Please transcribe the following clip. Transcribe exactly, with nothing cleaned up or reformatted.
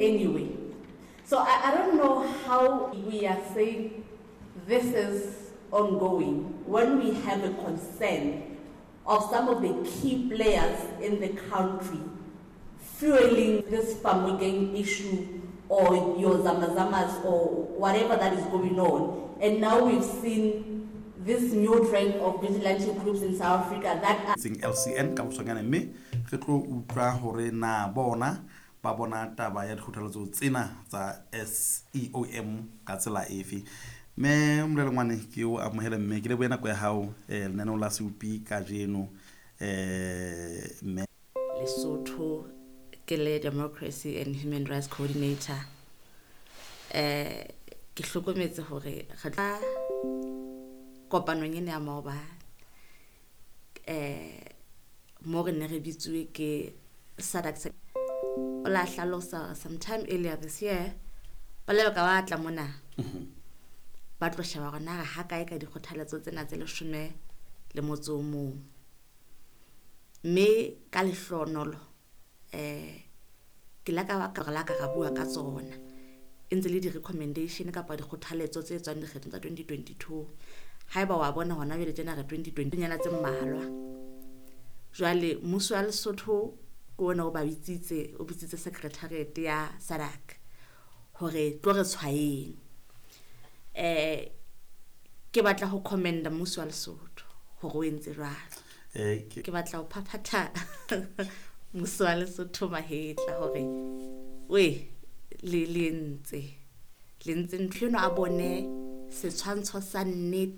anyway. So I, I don't know how we are saying this is ongoing when we have a concern of some of the key players in the country fueling this Bamokeng issue or your zamazamas or whatever that is going on. And now we've seen this new trend of vigilante groups in South Africa that are Seng L C N ka boswanyane, mme re tlo utlwa hore na bona ba bona taba ya dikgothaletso tsena tsa S E O M ka tsela efe. Mme Molelengwane, ke o amohele mme ke lebohe nako ya hao eh, lenaneong la Seupi kajeno, eh mme. Lesotho, ke le Democracy and Human Rights Coordinator. eh ke hlokometse hore re tla kopanong ena ya maobane, eh mo re ne re bitsuwe ke SADC, o la hlalosa sometime earlier this year ba le ka ba tla mona ba tlo sheba hore na re ha kae ka dikgothaletso tsena tse leshome le motso o mong. Mme ka lehlonolo eh ke la ka ba ka la ka ra bua ka tsona, e ntse le di-recommendation kapa dikgothaletso tse tswang dikgethong tsa twenty twenty-two. Haeba wa bona hona jwale tjena re twenty twenty nyana tse mmalwa. Jwale mmuso wa Lesotho ke ona o ba bitsitse, o bitsitse secretariat ya SADC hore tlo re tshwaeng. eh ke batla ho commenda mmuso wa Lesotho hore o entse jwalo. eh ke Ke batla ho phaphatha mmuso wa Lesotho mahetla hore we le le entse le ntse ntho eno, a bone setshwantsho sa nnete.